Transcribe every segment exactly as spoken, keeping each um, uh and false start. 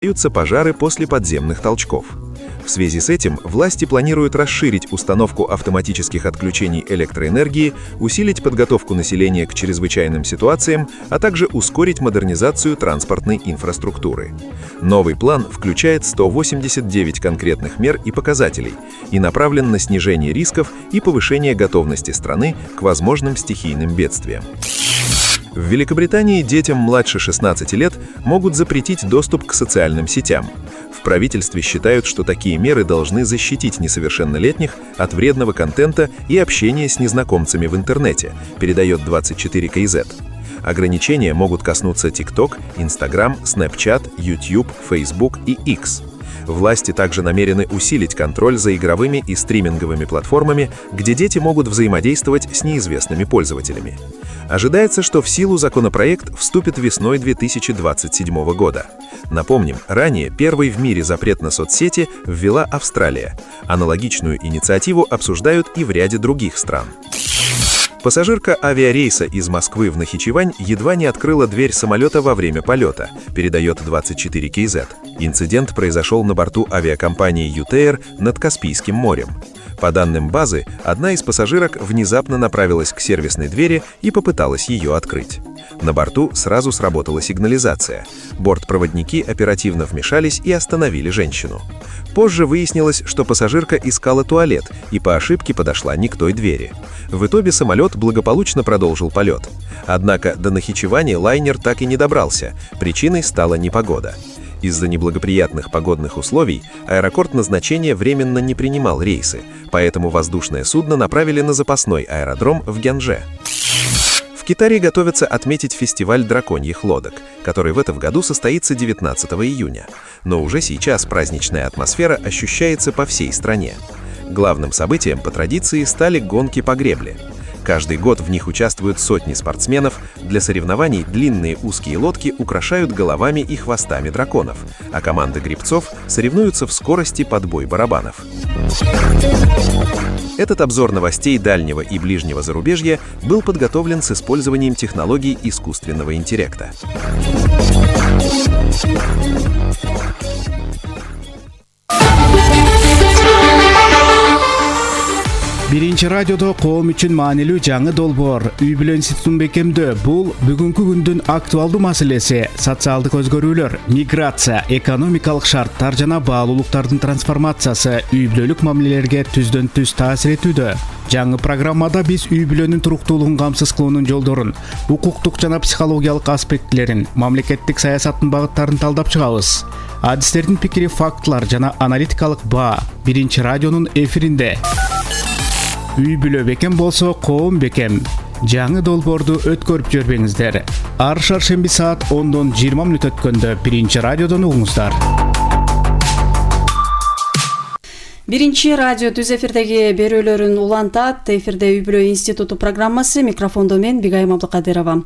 Появляются пожары после подземных толчков. В связи с этим власти планируют расширить установку автоматических отключений электроэнергии, усилить подготовку населения к чрезвычайным ситуациям, а также ускорить модернизацию транспортной инфраструктуры. Новый план включает сто восемьдесят девять конкретных мер и показателей и направлен на снижение рисков и повышение готовности страны к возможным стихийным бедствиям. В Великобритании детям младше шестнадцати лет могут запретить доступ к социальным сетям. В правительстве считают, что такие меры должны защитить несовершеннолетних от вредного контента и общения с незнакомцами в интернете, передает двадцать четыре кей зет. Ограничения могут коснуться TikTok, Instagram, Snapchat, YouTube, Facebook и X. Власти также намерены усилить контроль за игровыми и стриминговыми платформами, где дети могут взаимодействовать с неизвестными пользователями. Ожидается, что в силу законопроект вступит весной две тысячи двадцать седьмого года. Напомним, ранее первый в мире запрет на соцсети ввела Австралия. Аналогичную инициативу обсуждают и в ряде других стран. Пассажирка авиарейса из Москвы в Нахичевань едва не открыла дверь самолета во время полета, передает двадцать четыре кей зет. Инцидент произошел на борту авиакомпании «Ютеер» над Каспийским морем. По данным базы, одна из пассажирок внезапно направилась к сервисной двери и попыталась ее открыть. На борту сразу сработала сигнализация. Бортпроводники оперативно вмешались и остановили женщину. Позже выяснилось, что пассажирка искала туалет и по ошибке подошла не к той двери. В итоге самолет благополучно продолжил полет. Однако до Нахичевани лайнер так и не добрался. Причиной стала непогода. Из-за неблагоприятных погодных условий аэропорт назначения временно не принимал рейсы, поэтому воздушное судно направили на запасной аэродром в Гянже. В Китае готовятся отметить фестиваль драконьих лодок, который в этом году состоится девятнадцатого июня. Но уже сейчас праздничная атмосфера ощущается по всей стране. Главным событием по традиции стали гонки по гребле. Каждый год в них участвуют сотни спортсменов. Для соревнований длинные узкие лодки украшают головами и хвостами драконов, а команды гребцов соревнуются в скорости подбой барабанов. Этот обзор новостей дальнего и ближнего зарубежья был подготовлен с использованием технологий искусственного интеллекта. Биринчи радиодо коом үчүн маанилүү жаңы долбоор үй бүлө институтун бекемдөө. Бул бүгүнкү күндүн актуалдуу маселеси. Социалдык өзгөрүүлөр, миграция, экономикалык шарттар жана баалуулуктардын трансформациясы үй бүлөлүк мамилелерге түздөн түз таасир этүүдө. Жаңы программада биз үй бүлөнүн туруктуулугун камсыз кылуунун жолдорун, укуктук жана психологиялык аспектлерин, мамлекеттик саясаттын багыттарын талдап чыгабыз. Адистердин пикири, фактылар жана аналитикалык баа биринчи радионун эфиринде. Үй бүлө бекем болсо коом бекем. Жаңы долбоорду өткөрүп жүрбөңүздөр. Ар шаршемби саат ондон жыйырма мүнөт өткөндө биринчи радиодон угуңуздар. Биринчи радио түз эфирдеги берүүлөрүн улантат. Эфирде үй бүлө институту программасы, микрофондо мен Бигайым Абдыкадырова.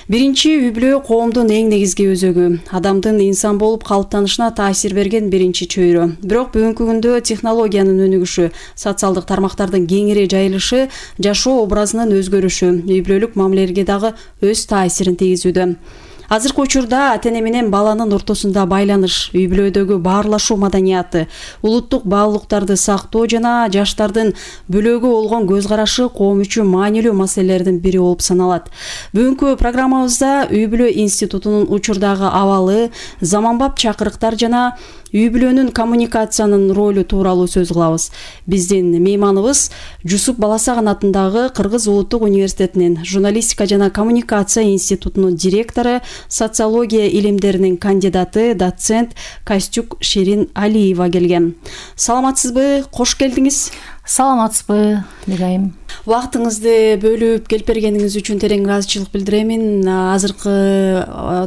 Биринчи үй бүлө коомдун эң негизги өзөгү. Адамдын инсан болуп калыптанышына таасир берген биринчи чөйрө. Бирок бүгүнкү күндө технологиянын өнүгүшү, социалдык тармактардын кеңири жайылышы, жашоо образынын өзгөрүшү үй бүлөлүк мамилелерге дагы өз таасирин тийгизүүдө. Азыркы учурда ата-эне менен баланын ортосунда байланыш, үй бүлөдөгү баарлашуу маданияты, улуттук баалуулуктарды сактоо жана жаштардын бүлөөгө болгон көз карашы коом үчүн маанилүү маселелердин бири болуп саналат. Бүгүнкү программабызда үй бүлө институтунун учурдагы абалы, заманбап чакырыктар жана үй бүлөнүн коммуникациянын ролу тууралуу сөз кылабыз. Биздин мейманыбыз Жусуп Баласаган атындагы Кыргыз улуттук университетинин журналистика жана коммуникация институтунун директору, социология илимдеринин кандидаты, доцент Костюк Ширин Алиева келген. Саламатсызбы? Кош келдиңиз. Саламатсызбы, Бигайым. Убактыңызды бөлүп келип бергениңиз үчүн терең ыраазычылык билдиремин. Азыркы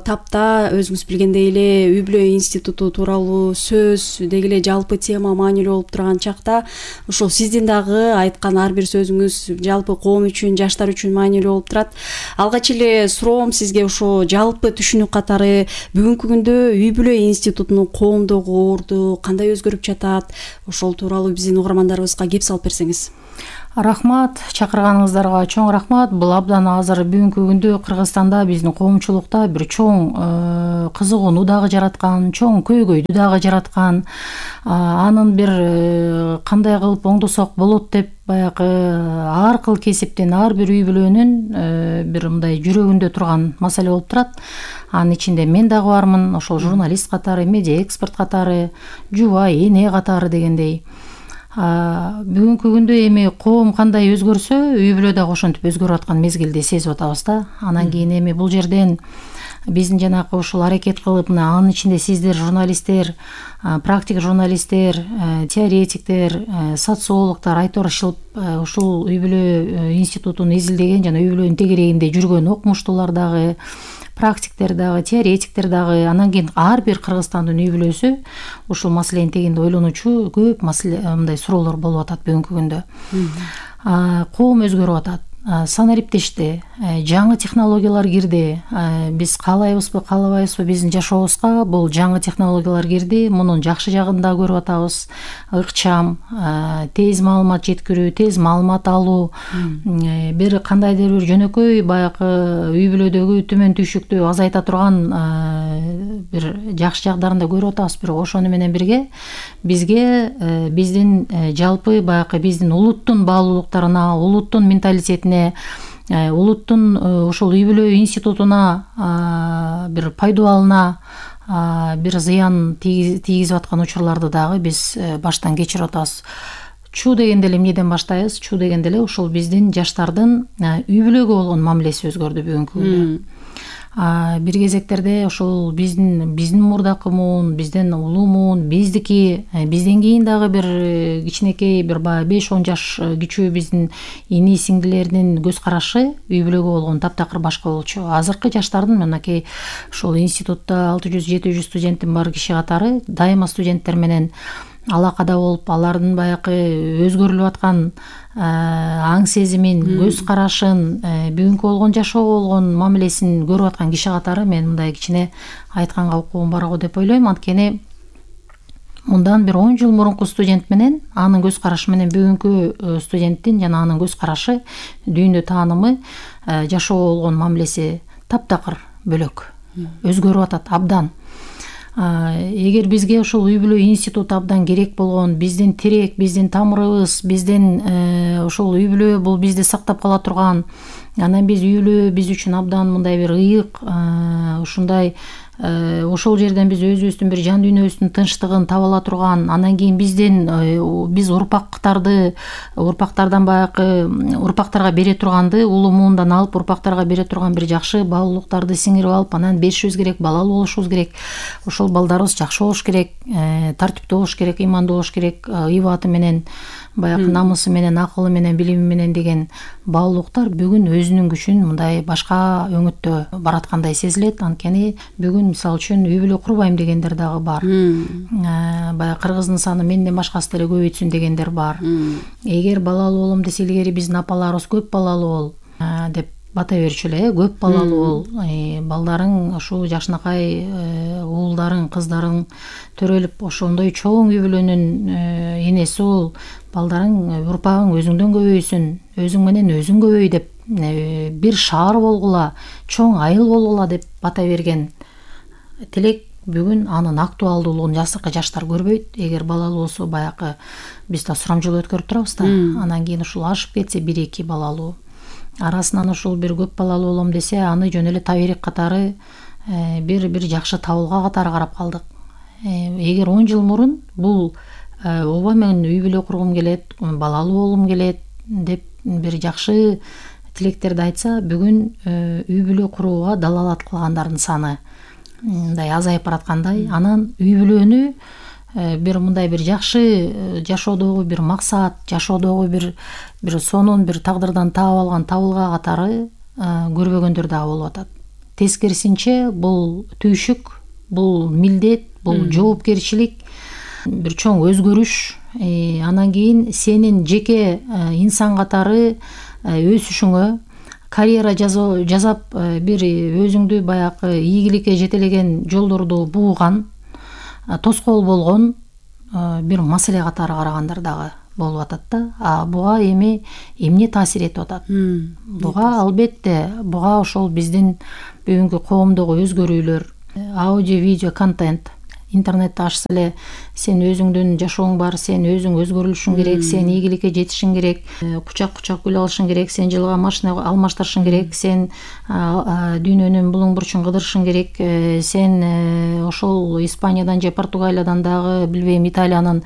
тапта өзүңүз билгендей эле үй бүлө институту тууралуу сөз, деги эле жалпы тема маанилүү болуп турган чакта, ошол сиздин дагы айткан ар бир сөзүңүз жалпы коом үчүн, жаштар үчүн маанилүү болуп турат. Алгач эле суроом сизге ошо жалпы түшүнүк катары бүгүнкү күндө үй бүлө институтунун коомдогу орду кандай өзгөрүп жатат? Ошол тууралуу биздин угармандарыбызга кеп салып берсеңиз. Рахмат, чакырганыңыздарга чоң рахмат. Бул абдан азыр бүгүнкү күндө Кыргызстанда биздин коомчулукта бир чоң кызыгууну дагы жараткан, чоң көйгөйдү дагы жараткан, анын бир кандай кылып оңдосок болот деп баягы ар кыл кесиптин, ар бир үй бүлөнүн бир мындай жүрөгүндө турган маселе болуп турат. Анын ичинде мен дагы бармын, ошол журналист катары, медиа эксперт катары, жубай, эне катары дегендей. Бүгүнкү күндө эми коом кандай өзгөрсө, үй бүлө дагы ошентип өзгөрүп аткан мезгилди сезип атабыз да. Анан кийин эми бул жерден биздин жанакы ушул аракет кылып, мына анын ичинде сиздер журналисттер, практик журналисттер, теоретиктер, социологдор айтырышып, ушул үй бүлө институтун изилдеген жана үй бүлөнүн тегерегинде жүргөн окумуштуулар дагы, практиктер дагы, теоретиктер дагы, анан кийин ар бир Кыргызстандын үй бүлөсү ушул маселенин тегинде ойлонуучу көп маселе мындай суроолор болуп атат бүгүнкү күндө. Коом өзгөрүп атат. Санариптешти, жаңы технологиялар кирди. Биз каалайбызбы, каалабайбызбы, биздин жашообузга бул жаңы технологиялар кирди. Мунун жакшы жагын да көрүп атабыз. Ыкчам, тез маалымат жеткирүү, тез маалымат алуу, бир кандайдыр бир жөнөкөй баягы үй бүлөдөгү түмөн түйшүктү азайта турган бир жакшы жагдарын да көрүп атабыз. Бирок ошону менен бирге бизге биздин жалпы баягы биздин улуттун баалуулуктарына, улуттун менталитетине, улуттун ушул үй бүлө институтуна бир пайдубалына бир зыян тийгизип аткан учурларды дагы биз баштан кечирип атабыз. Чуу дегенде эле эмнеден баштайбыз? Чуу дегенде эле ушул биздин жаштардын үй бүлөгө болгон мамилеси өзгөрдү бүгүнкү күндө. Бир кезектерде ошол биздин биздин мурдакы муун, бизден улуу муун, биздики, бизден кийин дагы бир кичинекей бир баягы беш он жаш кичүү биздин ини сиңдилердин көз карашы үй бүлөгө болгон таптакыр башка болчу. Азыркы жаштардын мынакей ошол институтта алты жүз жети жүз студенттин бар киши катары дайыма студенттер менен алакада болуп, алардын баягы өзгөрүлүп аткан аң сезимин, көз карашын, бүгүнкү болгон жашоо болгон мамилесин көрүп аткан киши катары мен мындай кичине айтканга укугум бар го деп ойлойм. Анткени мындан бир он жыл мурунку студент менен анын көз карашы менен бүгүнкү студенттин жана анын көз карашы, дүйнө таанымы, жашоо болгон мамилеси таптакыр бөлөк, өзгөрүп атат абдан. Эгер бизге ошол үй бүлө институту абдан керек болгон, биздин тирек, биздин тамырыбыз, биздин ошол үй бүлө бул бизди сактап кала турган, анан биз үй бүлө биз үчүн абдан мындай бир ыйык, ушундай ошол жерден биз өзүбүздүн бир жан дүйнөбүздүн тынчтыгын таба ала турган, анан кийин бизден биз урпактарды урпактардан баягы урпактарга бере турганды, улуу муундан алып урпактарга бере турган бир жакшы баалуулуктарды сиңирип алып, анан беришибиз керек, балалуу болушубуз керек. Ошол балдарыбыз жакшы болуш керек, тартиптүү болуш керек, ыймандуу болуш керек, ибаты менен, баягы намысы менен, акылы менен, билими менен деген баалуулуктар бүгүн өзүнүн күчүн мындай башка өңүттө бараткандай сезилет. Анткени бүгүн мисалы үчүн үй бүлө курбайм дегендер дагы бар. Баягы кыргыздын саны менден башкасы деле көбөйтсүн дегендер бар. Эгер балалуу болом десе, илгери биздин апаларыбыз көп балалуу бол деп бата берчү эле, көп балалуу бол, балдарың ушул жакшынакай уулдарың, кыздарың төрөлүп ошондой чоң үй бүлөнүн энеси бол, балдарың, урпагың өзүңдөн көбөйсүн, өзүң менен өзүң көбөй деп, бир шаар болгула, чоң айыл болгула деп бата берген тилек бүгүн анын актуалдуулугун азыркы жаштар көрбөйт. Эгер балалуу болсо, баягы биз да сурамжылоо өткөрүп турабыз да, анан кийин ушул ашып кетсе бир эки балалуу, арасынан ушул бир көп балалуу болом десе, аны жөн эле таберек катары бир бир жакшы табылга катары карап калдык. Эгер он жыл мурун бул ооба мен үй бүлө кургум келет, балалуу болгум келет деп бир жакшы тилектерди айтса, бүгүн үй бүлө курууга далалат кылгандардын саны мындай азайып бараткандай. Анан үй бүлөнү бир мындай бир жакшы жашоодогу бир максат, жашоодогу бир бир сонун бир тагдырдан таап алган табылга катары көрбөгөндөр дагы болуп атат. Тескерисинче бул түйшүк, бул милдет, бул жоопкерчилик, бир чоң өзгөрүш. Анан кийин сенин жеке инсан катары өсүшүңө, карьера жасап бир өзүңдү баягы ийгиликке жетелеген жолдорду бууган, тоскоол болгон бир маселе катары карагандар дагы болуп атат да. А буга эми эмне таасир этип атат? Буга албетте буга ошол биздин бүгүнкү коомдогу өзгөрүүлөр, аудио, видео контент. Интернетти ачса эле сен өзүңдүн жашооң бар, сен өзүң өзгөрүлүшүң керек, сен ийгиликке жетишиң керек, кучак кучак гүл алышың керек, сен жылга машина алмаштырышың керек, сен дүйнөнүн булуң бурчун кыдырышың керек, сен ошол Испаниядан же Португалиядан дагы билбейм Италиянын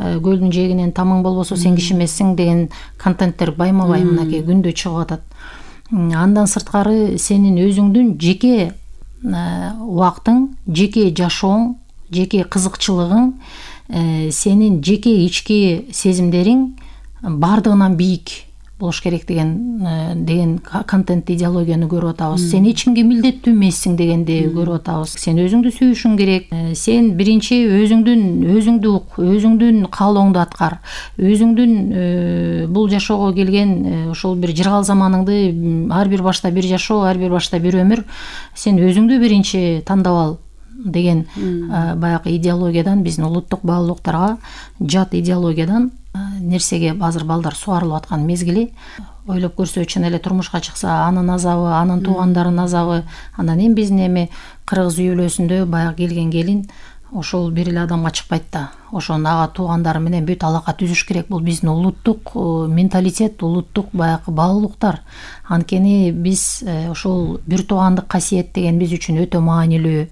көлдүн жээгинен тамың болбосо сен киши эмессиң деген контенттер байма-бай мынакей күндө чыгып атат. Андан сырткары сенин өзүңдүн жеке убактың, жеке жашооң, жеке кызыкчылыгың, сенин жеке ички сезимдериң бардыгынан бийик болуш керек деген деген контент идеологияны көрүп атабыз. Сен эч кимге милдеттүү эмессиң дегенди көрүп атабыз. Сен өзүңдү сүйүшүң керек. Сен биринчи өзүңдүн өзүңдү ук, өзүңдүн каалооңду аткар. Өзүңдүн бул жашоого келген ошол бир жыргал заманыңды ар бир башта бир жашоо, ар бир башта бир өмүр. Сен өзүңдү биринчи тандап ал деген баягы идеологиядан, биздин улуттук баалуулуктарга жат идеологиядан нерсеге азыр балдар сугарылып аткан мезгили. Ойлоп көрсө, чын эле турмушка чыкса, анын азабы, анын туугандарынын азабы, анан эми биздин эми кыргыз үй бүлөсүндө баягы келген келин ошол бир эле адамга чыкпайт да. Ошонун ага туугандары менен бүт алака түзүш керек. Бул биздин улуттук менталитет, улуттук баягы баалуулуктар. Анткени биз ошол бир туугандык касиет деген биз үчүн өтө маанилүү.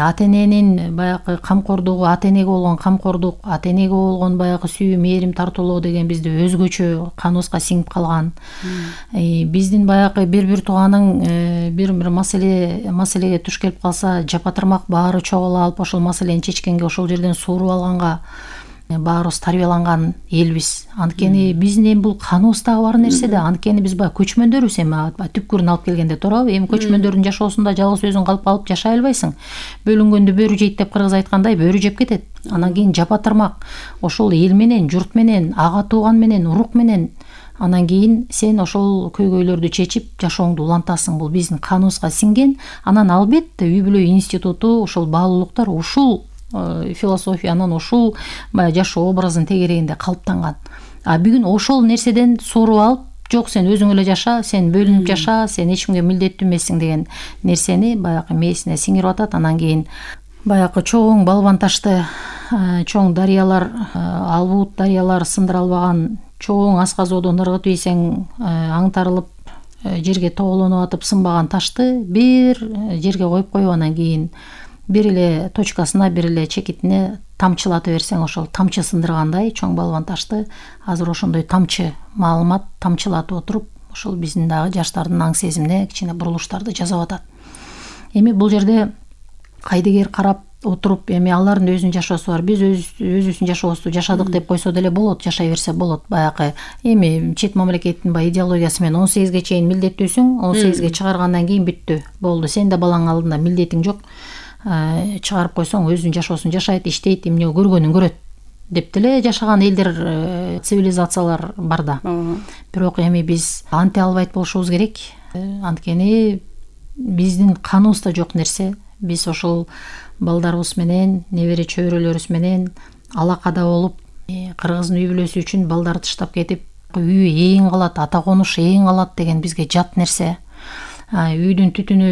Ата эненин баягы камкордугу, ата энеге болгон камкордук, ата энеге болгон баягы сүйүү, мээрим, тартуулоо деген бизде өзгөчө каныбызга сиңип калган. Биздин баягы бир-бир тууганын бир-бир маселе маселеге туш келип калса, жапатырмак баары чогула алып ошол маселени чечкенге, ошол жерден сууруп алганга баарыбыз тарбияланган элбиз. Анткени биздин эми бул каныбыздагы бар нерсе да. Анткени биз баягы көчмөндөрбүз эми түпкүрүн алып келгенде, туурабы? Эми көчмөндөрдүн жашоосунда жалгыз өзүң калып калып жашай албайсың. Бөлүнгөндө бөрү жейт деп кыргыз айткандай, бөрү жеп кетет. Анан кийин жапатырмак ошол эл менен, журт менен, ага тууган менен, урук менен, анан кийин сен ошол көйгөйлөрдү чечип жашооңду улантасың. Бул биздин каныбызга сиңген. Анан албетте үй бүлө институту, ошол баалуулуктар ушул философиянын, ушул жашоо образын тегерегинде калыптанган. А бүгүн ошол нерседен сооруп алып, жок сен өзүң эле жаша, сен бөлүнүп жаша, сен эч кимге милдеттүү эмессиң деген нерсени баягы мээсине сиңирип атат. Анан кийин баягы чоң балбан ташты, чоң дарыялар, албут дарыялар сындыра албаган чоң асказоодон ыргытып ийсең аңтарылып жерге тоголонуп атып сынбаган ташты бир жерге коюп коюп анан кийин бир эле точкасына, бир эле чекитине тамчылата берсең, ошол тамчы сындыргандай чоң балбан ташты азыр ошондой тамчы маалымат тамчылатып отуруп, ошол биздин дагы жаштардын аң сезимине кичине бурулуштарды жасап атат. Эми бул жерде кайдыгер карап отуруп, эми алардын өзүнүн жашоосу бар, биз өзүбүздүн жашообузду жашадык деп койсо деле болот, жашай берсе болот. Баягы эми чет мамлекеттин баягы идеологиясы менен он сегизге чейин милдеттүүсүң, он сегизге чыгаргандан кийин бүттү, болду, сен да балаң алдында милдетиң жок. Чыгарып койсоң өзүнүн жашоосун жашайт, иштейт, эмне көргөнүн көрөт деп деле жашаган элдер, цивилизациялар бар да. Бирок эми биз анте албайт болушубуз керек. Анткени биздин каныбызда жок нерсе. Биз ошол балдарыбыз менен, небере чөйрөлөрүбүз менен алакада болуп, кыргыздын үй бүлөсү үчүн балдарды таштап кетип, үй эң калат, ата конуш эң калат деген бизге жат нерсе. Үйдүн түтүнү,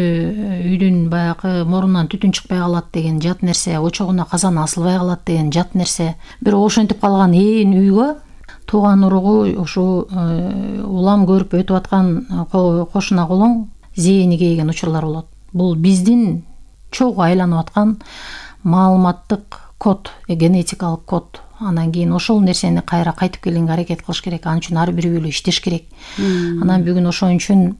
үйдүн баягы мурунан түтүн чыкпай калат деген жат нерсе, очогуна казан асылбай калат деген жат нерсе. Бирок ошентип калган ээн үйгө тууган уругу ушу улам көрүп өтүп аткан кошуна колоң зээни кейген учурлар болот. Бул биздин чогуу айланып аткан маалыматтык код, генетикалык код. Анан кийин ошол нерсени кайра кайтып келгенге аракет кылыш керек. Ал үчүн ар бир үй бүлө иштеш керек. Анан бүгүн ошон үчүн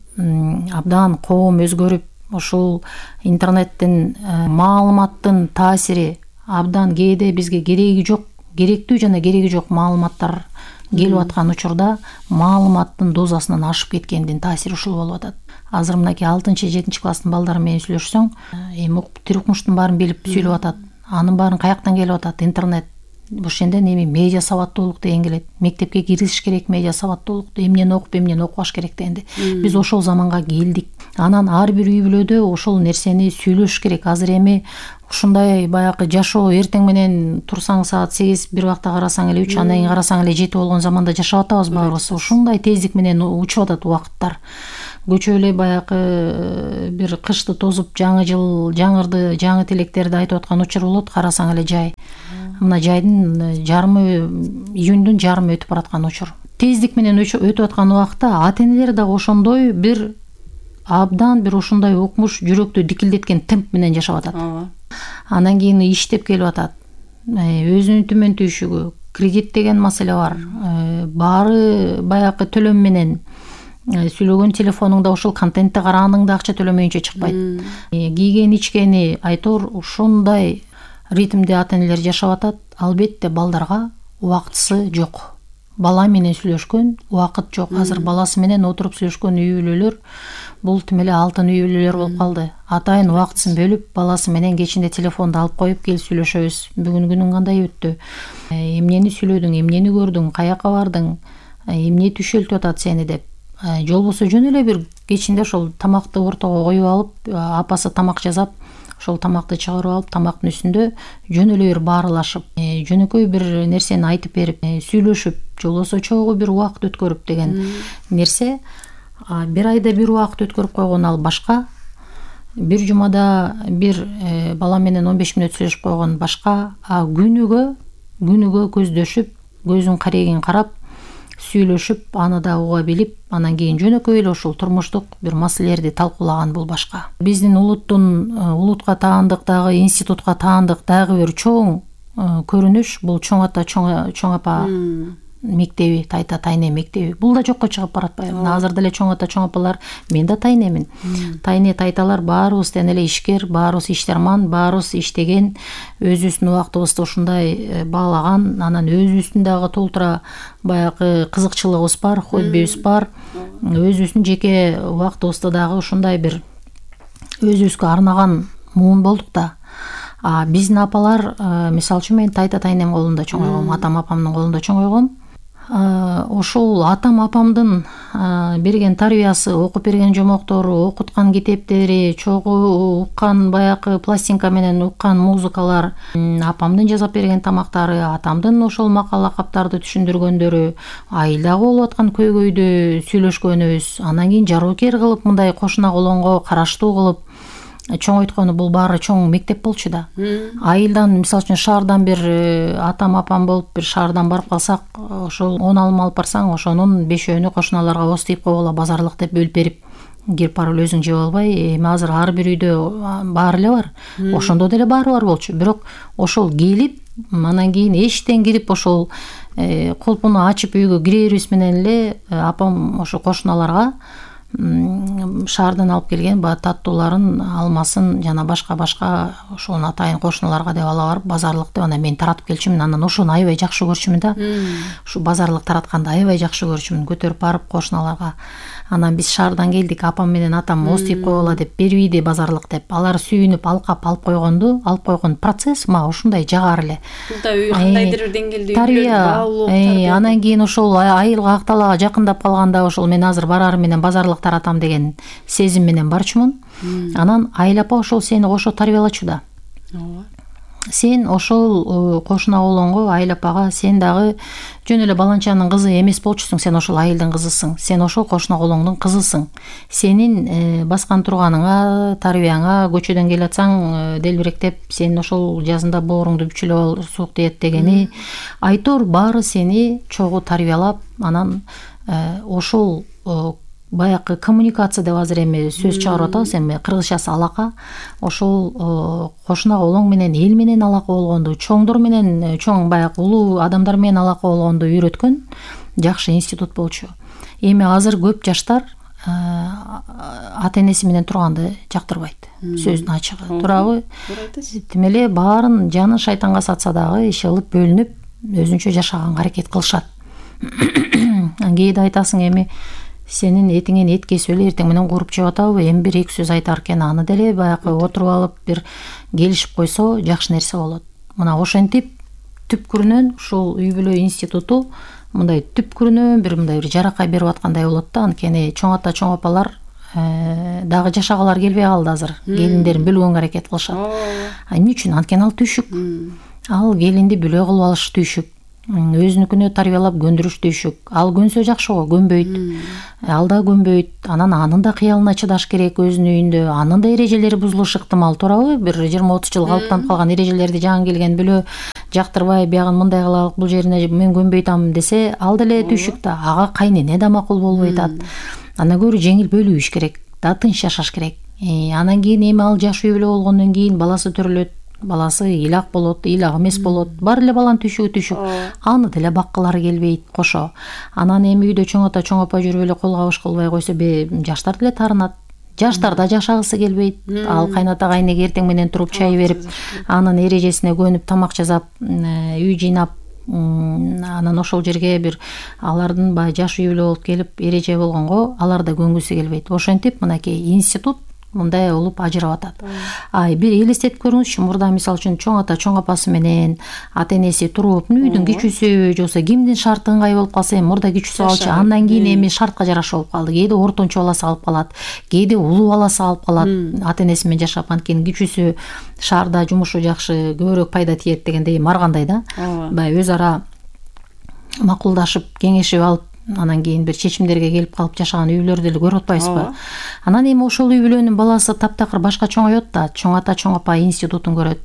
абдан коом өзгөрүп, ушул интернеттин, маалыматтын таасири абдан кээде бизге кереги жок, керектүү жана кереги жок маалыматтар келип аткан учурда маалыматтын дозасынан ашып кеткендин таасири ушул болуп атат. Азыр мынакей алтынчы, жетинчи класстын балдары менен сүйлөшсөң, эми тир укмуштун баарын билип сүйлөп атат. Анын баарын каяктан келип атат? Интернет. Ошондон эми медиа сабаттуулук деген келет. Мектепке киргизиш керек медиа сабаттуулукту, эмнени окуп, эмнени окубаш керек дегенде. Биз ошол заманга келдик. Анан ар бир үй бүлөдө ошол нерсени сүйлөш керек. Азыр эми ушундай баягы жашоо эртең менен турсаң саат сегиз бир убакта карасаң эле үч, андан кийин карасаң эле жети болгон заманда жашап атабыз баарыбыз. Ушундай тездик менен учуп атат убакыттар. Көчө эле баягы бир кышты тосуп жаңы жыл жаңырды, жаңы тилектерди айтып аткан учур болот, карасаң эле жай. Мына жайдын жарымы, июндун жарымы өтүп бараткан учур. Тездик менен өтүп аткан убакта ата-энелер дагы ошондой бир абдан бир ушундай укмуш, жүрөктү дикилдеткен темп менен жашап атат. Андан кийин иштеп келип атат. Өзүнүн төмөн түйшүгү, кредит деген маселе бар. Баары баягы төлөм менен. Сүйлөгөн телефонуңда ушул контентти караганыңда акча төлөмөйүнчө чыкпайт. Кийген ичкени айтор ушундай ритмде ата-энелер жашап атат. Албетте балдарга убактысы жок. Бала менен сүйлөшкөн убакыт жок. Азыр баласы менен отуруп сүйлөшкөн үй бүлөлөр бул тим эле алтын үй бүлөлөр болуп калды. Атайын убактысын бөлүп, баласы менен кечинде телефонду алып коюп кел сүйлөшөбүз. Бүгүн күнүң кандай өттү? Эмнени сүйлөдүң, эмнени көрдүң, каяка бардың, эмне түшөлтүп атат сени деп. Же болбосо жөн эле бир кечинде ошол тамакты ортого коюп алып, апасы тамак жасап, ошол тамакты чыгарып алып, тамактын үстүндө жөн эле бир баарылашып, жөнөкөй бир нерсени айтып берип, сүйлөшүп, же болбосо чогуу бир убакыт өткөрүп деген нерсе. Бир айда бир убакыт өткөрүп койгон ал башка. Бир жумада бир бала менен он беш мүнөт сүйлөшүп койгон башка. А күнүгө, күнүгө көздөшүп, көзүн карегин карап, сүйлөшүп, аны да уга билип, анан кийин жөнөкөй эле ушул турмуштук бир маселелерди талкуулаган бул башка. Биздин улуттун улутка таандык дагы, институтка таандык дагы бир чоң көрүнүш бул чоң ата, чоң апа мектеби, тайта тайне мектеби. Бул да жокко чыгып баратпайбы? Азыр деле чоң ата, чоң апалар, мен да тайнемин. Тайне тайталар баарыбыз тең эле ишкер, баарыбыз иштерман, баарыбыз иштеген, өзүбүздүн убактыбызды ушундай баалаган, анан өзүбүздүн дагы толтура баягы кызыкчылыгыбыз бар, хоббибиз бар. Өзүбүздүн жеке убактыбызды дагы ушундай бир өзүбүзгө арнаган муун болдук да. А биздин апалар, мисалы үчүн мен тайта тайнем колунда чоңойгом, атам апамдын колунда чоңойгом. Ошол атам апамдын берген тарбиясы, окуп берген жомоктору, окуткан китептери, чогуу уккан баягы пластинка менен уккан музыкалар, апамдын жасап берген тамактары, атамдын ошол макал лакаптарды түшүндүргөндөрү, айылдагы болуп аткан көйгөйдү сүйлөшкөнүбүз, анан кийин жароокер кылып мындай кошуна колонго караштуу кылып чоңойткону бул баары чоң мектеп болчу да. Айылдан, мисалы үчүн шаардан бир атам апам болуп бир шаардан барып калсак, ошол он алым алып барсаң, ошонун бешөөнү кошуналарга ос тийип койгула, базарлык деп бөлүп берип, кирип барып өзүң жеп албай, эми азыр ар бир үйдө баары эле бар. Ошондо деле баары бар болчу. Бирок ошол келип, анан кийин эшиктен кирип ошол колпуну ачып үйгө кирерибиз менен эле апам ошо кошуналарга шаардан алып келген баягы таттууларын, алмасын жана башка-башка ошол атайын кошуналарга деп ала барып, базарлык деп анан мен таратып келчүмүн. Анан ошону аябай жакшы көрчүмүн да. Ушу базарлык таратканды аябай жакшы көрчүмүн, көтөрүп барып кошуналарга. Анан биз шаардан келдик, апам менен атам ос тийип койгула деп бербейди базарлык деп. Алар сүйүнүп алкап алып койгонду, алып койгон процесс мага ушундай жагар эле. Бул да кандайдыр бир деңгээлде тарбия. Анан кийин ошол айылга Акталага жакындап калганда ошол мен азыр барарым менен базарлык таратам деген сезим менен барчумун. Анан айыл апа ошол сени кошо тарбиялачу да. Сен ошол кошуна колонго, айыл апага сен дагы жөн эле баланчанын кызы эмес болчусуң, сен ошол айылдын кызысың, сен ошол кошуна колоңдун кызысың. Сенин баскан турганыңа, тарбияңа, көчөдөн келатсаң делбиректеп, сен ошол жазында бооруңду бүчүлөп ал, суук тиет дегени айтор баары сени чогуу тарбиялап, анан ошол баягы коммуникация деп азыр эми сөз чыгарып атабыз, эми кыргызчасы алака. Ошол кошуна колоң менен, эл менен алака болгонду, чоңдор менен, чоң баягы улуу адамдар менен алака болгонду үйрөткөн жакшы институт болчу. Эми азыр көп жаштар ата-энеси менен турганды жактырбайт. Сөздүн ачыгы. Туурабы? Тим эле баарын жаны шайтанга сатса дагы иши кылып бөлүнүп, өзүнчө жашаганга аракет кылышат. Кээде айтасың эми сенин этиңен эт кесип эле эртең менен кууруп жеп атабы, эми бир эки сөз айтар экен, аны деле баягы отуруп алып бир келишип койсо жакшы нерсе болот. Мына ошентип түпкүрүнөн ушул үй бүлө институту мындай түпкүрүнөн бир мындай бир жаракай берип аткандай болот да. Анткени чоң ата, чоң апалар дагы жашагалар келбей калды азыр. Келиндерин бөлгөнгө аракет кылышат. Эмне үчүн? Анткени ал түйшүк. Ал келинди бүлө кылып алыш түйшүк. Өзүнүкүнө тарбиялап көндүрүш түйшүк. Ал көнсө жакшы го, көнбөйт. Ал да көнбөйт. Анан анын да кыялына чыдаш керек өзүнүн үйүндө. Анын да эрежелери бузулушу ыктымал, туурабы? Бир жыйырма отуз жыл калыптанып калган эрежелерди жаңы келген бүлө жактырбай, биягын мындай кылалык, бул жерине мен көнбөй атам десе, ал деле түйшүк да. Ага кайнене да макул болбой атат. Андан көрө жеңил бөлүш керек, да тынч жашаш керек. Анан кийин эми ал жаш үй бүлө болгондон кийин баласы төрөлөт. Баласы ыйлак болот, ыйлак эмес болот. Бар эле баланын түйшүгү түйшүк. Аны деле баккылары келбейт кошо. Анан эми үйдө чоң ата, чоң апа жүрүп эле кол кабыш кылбай койсо, жаштар деле таарынат. Жаштар да жашагысы келбейт. Ал кайната кайнеге эртең менен туруп чай берип, анын эрежесине көнүп, тамак жасап, үй жыйнап, анан ошол жерге бир алардын баягы жаш үй бүлө болуп келип эреже болгонго алар да көнгүсү келбейт. Ошентип мынакей институт мындай болуп ажырап атат. Ай, бир элестетип көрүңүзчү, мурда мисалы үчүн чоң ата, чоң апасы менен ата энеси туруп, үйдүн кичүүсү, жоксо кимдин шарты ыңгай болуп калса, эми мурда кичүүсү алчу, андан кийин эми шартка жараша болуп калды. Кээде ортончо баласы алып калат, кээде улуу баласы алып калат, ата энеси менен жашап, анткени кичүүсү шаарда жумушу жакшы, көбүрөөк пайда тиет дегендей маргандай да. Баягы өз ара макулдашып, кеңешип алып, анан кийин бир чечимдерге келип калып жашаган үй бүлөлөрдү деле көрүп атпайсызбы? Анан эми ошол үй бүлөнүн баласы таптакыр башка чоңойот да, чоң ата, чоң апа институтун көрөт.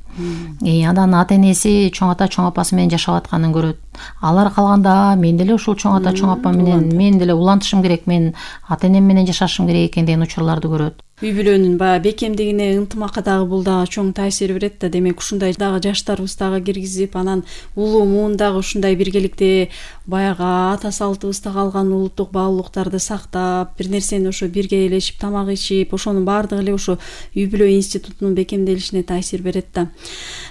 Анан ата энеси чоң ата, чоң апасы менен жашап атканын көрөт. Алар калганда мен деле ушул чоң ата, чоң апа менен мен деле улантышым керек, мен ата энем менен жашашым керек экен деген учурларды көрөт. Үй бүлөнүн баягы бекемдигине, ынтымакка дагы бул дагы чоң таасир берет да. Демек ушундай дагы жаштарыбыз дагы киргизип, анан улуу муун дагы ушундай биргеликте баягы ата салтыбызда калган улуттук баалуулуктарды сактап, бир нерсени ошо бирге ээлешип, тамак ичип, ошонун баардыгы эле ошо үй бүлө институтунун бекемделишине таасир берет да.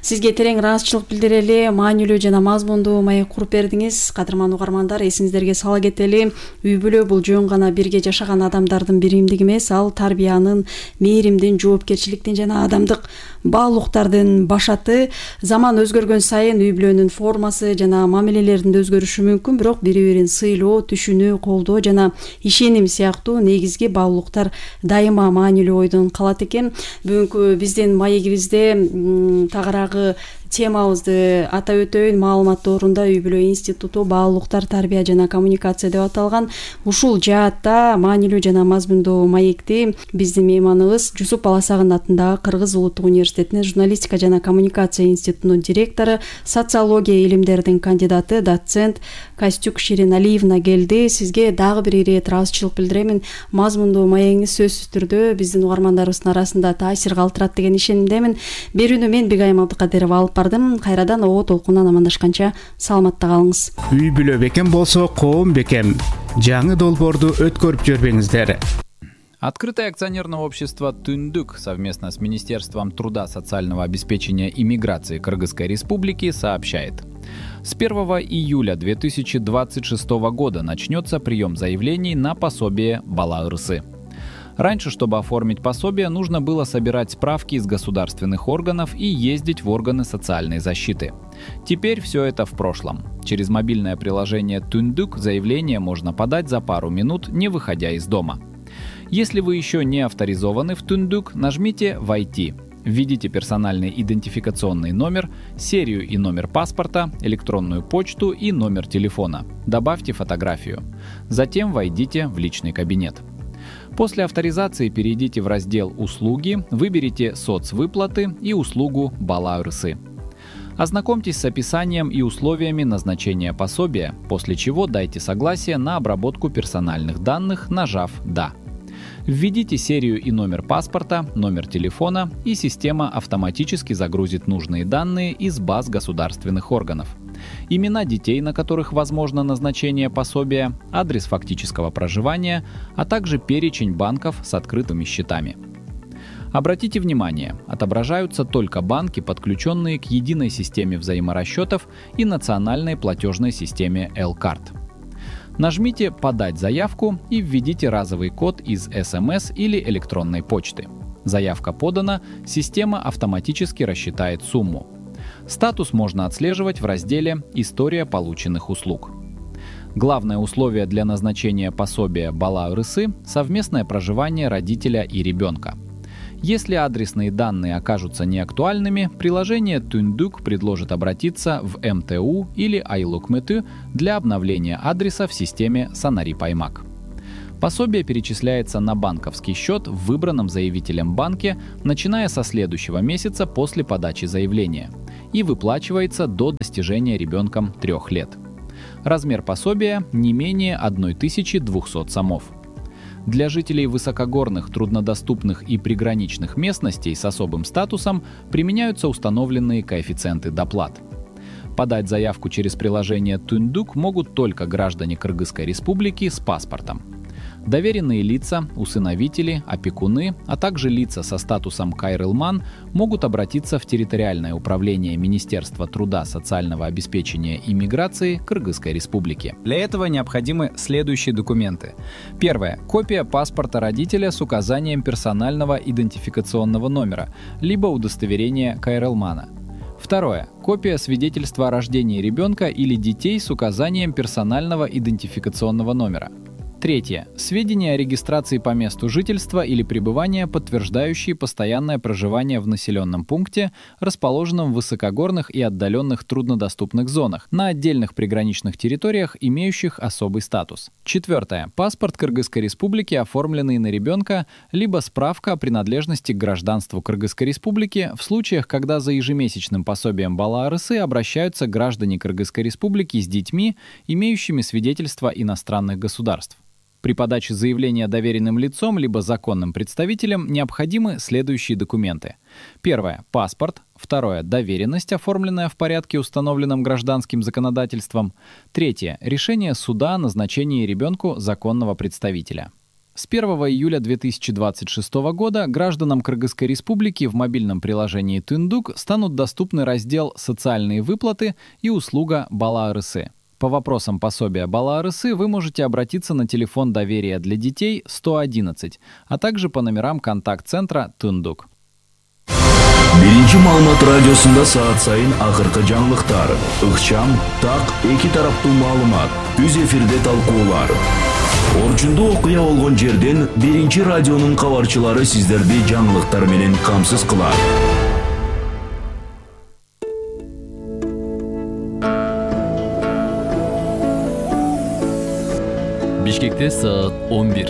Сизге терең ыраазычылык билдирели, маанилүү жана мазмундуу маек куруп бердиңиз. Кадырман угармандар, эсиңиздерге сала кетели, үй бүлө бул жөн гана бирге жашаган адамдардын биримдиги эмес, ал тарбиянын, мээримдин, жоопкерчиликтин жана адамдык баалуулуктардын башаты. Заман өзгөргөн сайын үй бүлөнүн формасы жана мамилелеринде өзгөрүшү мүмкүн, бирок бири-бирин сыйлоо, түшүнүү, колдоо жана ишеним сыяктуу негизги баалуулуктар дайыма маанилүү ойдон калат экен. Бүгүнкү биздин маегибизде тагыраагы темабызды атап өтөйүн. Маалымат доорунда үй бүлө институту баалуулуктар, тарбия жана коммуникация деп аталган. Ушул жаатта маанилүү жана мазмундуу маекти биздин мейманыбыз Жусуп Баласагын атындагы Кыргыз улуттук университетинин журналистика жана коммуникация институтунун директору, социология илимдеринин кандидаты, доцент Костюк Ширин Алиевна келди. Сизге дагы бир ирет ыраазычылык билдиремин. Мазмундуу маегиңиз сөзсүз түрдө биздин угармандарыбыздын арасында таасир калтырат деген ишенимдемин. Берүүнү мен Бигайым Абдыкадырова алып бардым. Кайрадан оо толкунан амандашканча саламатта калыңыз. Үй бүлө бекем болсо, коом бекем. Жаңы долбоорду өткөрүп жүрбөңүздөр. Открытое акционерное общество «Түндүк» совместно с Министерством труда, социального обеспечения и миграции Кыргызской Республики сообщает. С первого июля две тысячи двадцать шестого года начнется прием заявлений на пособие Бала Ырсы. Раньше, чтобы оформить пособие, нужно было собирать справки из государственных органов и ездить в органы социальной защиты. Теперь все это в прошлом. Через мобильное приложение «Түндүк» заявление можно подать за пару минут, не выходя из дома. Если вы еще не авторизованы в «Түндүк», нажмите «Войти». Введите персональный идентификационный номер, серию и номер паспорта, электронную почту и номер телефона. Добавьте фотографию. Затем войдите в личный кабинет. После авторизации перейдите в раздел «Услуги», выберите «Соцвыплаты» и услугу «Бала Ырсы». Ознакомьтесь с описанием и условиями назначения пособия, после чего дайте согласие на обработку персональных данных, нажав «Да». Введите серию и номер паспорта, номер телефона, и система автоматически загрузит нужные данные из баз государственных органов. Имена детей, на которых возможно назначение пособия, адрес фактического проживания, а также перечень банков с открытыми счетами. Обратите внимание, отображаются только банки, подключенные к единой системе взаиморасчетов и национальной платежной системе L-Card. Нажмите «Подать заявку» и введите разовый код из эс эм эс или электронной почты. Заявка подана, система автоматически рассчитает сумму. Статус можно отслеживать в разделе «История полученных услуг». Главное условие для назначения пособия бала ырысы – совместное проживание родителя и ребенка. Если адресные данные окажутся неактуальными, приложение Түндүк предложит обратиться в эм тэ у или Айлукмэтү для обновления адреса в системе Санарип Аймак. Пособие перечисляется на банковский счет в выбранном заявителем банке, начиная со следующего месяца после подачи заявления, и выплачивается до достижения ребенком трех лет. Размер пособия не менее тысячи двухсот сомов. Для жителей высокогорных, труднодоступных и приграничных местностей с особым статусом применяются установленные коэффициенты доплат. Подать заявку через приложение Түндүк могут только граждане Кыргызской Республики с паспортом. Доверенные лица, усыновители, опекуны, а также лица со статусом кайрылман могут обратиться в территориальное управление Министерства труда, социального обеспечения и миграции Кыргызской Республики. Для этого необходимы следующие документы. Первое. Копия паспорта родителя с указанием персонального идентификационного номера, либо удостоверения кайрылмана. Второе. Копия свидетельства о рождении ребенка или детей с указанием персонального идентификационного номера. Третье. Сведения о регистрации по месту жительства или пребывания, подтверждающие постоянное проживание в населенном пункте, расположенном в высокогорных и отдаленных труднодоступных зонах, на отдельных приграничных территориях, имеющих особый статус. Четвертое. Паспорт Кыргызской Республики, оформленный на ребенка, либо справка о принадлежности к гражданству Кыргызской Республики в случаях, когда за ежемесячным пособием бала ырысы обращаются граждане Кыргызской Республики с детьми, имеющими свидетельство иностранных государств. При подаче заявления доверенным лицом либо законным представителем необходимы следующие документы. Первое. Паспорт. Второе. Доверенность, оформленная в порядке, установленном гражданским законодательством. Третье. Решение суда о назначении ребенку законного представителя. С первого июля две тысячи двадцать шестого года гражданам Кыргызской Республики в мобильном приложении Түндүк станут доступны раздел «Социальные выплаты» и услуга «Бала ырысы». По вопросам пособия бала ырысы вы можете обратиться на телефон доверия для детей сто одиннадцать, а также по номерам контакт-центра Түндүк. Биринчи маалымат радиосунда саат сайын акыркы жаңылыктар, ыкчам, так, эки тараптуу маалымат, үз эфирде талкуулар. Орчундуу окуя болгон жерден биринчи радионун кабарчылары сиздерди жаңылыктар менен камсыз кылат. Бишкекте саат он бир.